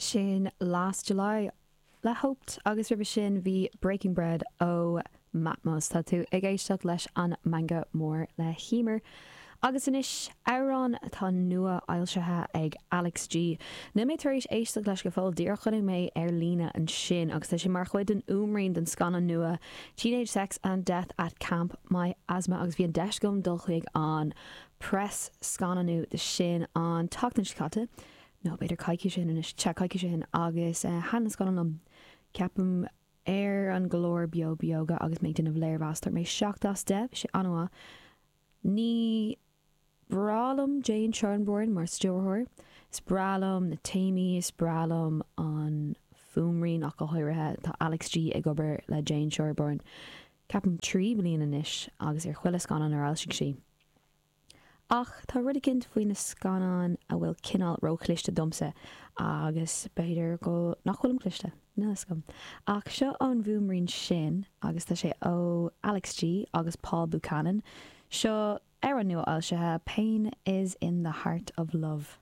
Sin Last July le Hoped agus roimhe sin bhí Breaking Bread ó Matmos. Tá tú ag éisteacht leis an Meangadh Mór le hEmer. Agus anois, amhrán atá nua-fhoilsithe ag Alex G. Níl mé tar éis éisteacht leis go fóill, díreach chonaic mé ar líne ansin agus tá sé mar chuid den fhuaimrian don scannán nua Teenage Sex and Death at Camp My Asthma agus bhí an deis agam dul chuig an press scannánú de sin an tseachtain seo caite, nó b'fhéidir coicís ó shin anois, sea, coicís ó shin, agus thaitin an scannán liom, ceapaim. Ar an gclár Beo Beoga agus mé ag déanamh léirmheas, dúirt mé 7 as 10, bhí sé an-mhaith. Ní breá liom Jane Schoenbrun mar stiúrthóir. Is breá liom na téamaí, is breá liom an fuaimrian ach go háirithe. Tá Alex G ag obair le Jane Schoenbrun ceapaim 3 bliana anois agus ar chuile scannán ar fhoilsigh sí. Ach tá rud eicínt faoi na scannáin a bhfuil cineál róchliste domsa agus b'fhéidir go nach bhfuilim cliste, níl fhios agam. Ach seo an bhfuaimrian sin agus tá sé ó Alex G agus Paul Buchanan. Seo amhrán nua-fhoilsithe, Pain is in the Heart of Love.